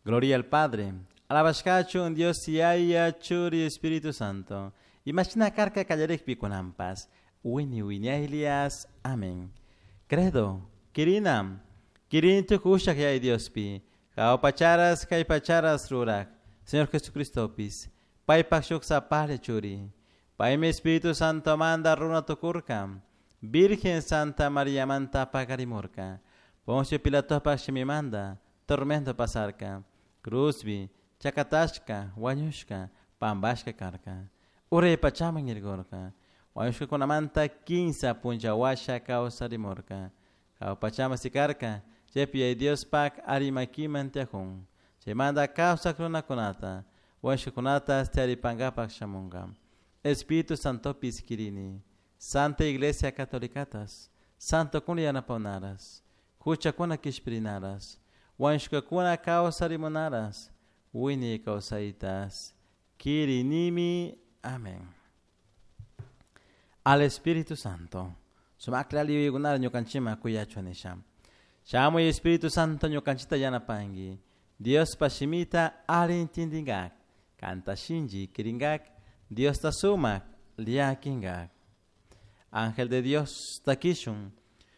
Gloria al Padre, alabashkachun Dios Yaya, Churi, Espíritu Santo. Imashina karka kallarikpi kunanpas. Wini wiñaylias. Amén. Credo, kirinam, kirin tukushak Yaya Diospi, jahua pacharas, kay pacharas rurak, Señor Jesucristopis, paypak shuk sapalla churi, paymi Espíritu Santo manda runa tukurka, Virgen Santa María manta pakarimurka, Poncio Pilatopak shimimanda, tormento pasarka, cruzbi, chakatashka, wañushka, pambashka karka, uray pachaman irgurka, wañushkakunamanta kinsa punlla washa kawsarimurka, jahua pachaman sikarka, chaypi Yaya Diospak ari makiman tiyakun, chaymanta kawsak runakunata, wañushkakunata tiyaripankapak shamunka. Espíritu Santopis kirini, Santa Iglesia Catolicatas, Santokuna yanapawnaras, huchakuna kishpirinaras, wañushkakuna kawsarimunaras, wiñay kawsaytas, kirinimi. Amén. Al Espíritu Santo. Sumakla yuyaykunara ñukanchikman kuyachun nisha. Shamuy Espíritu Santo ñukanchikta yanapanki. Diospa shimita alli intindinkak, kanta shinchi kirinkak, Diosta sumak llakinkak. Ángel de Dios takishun.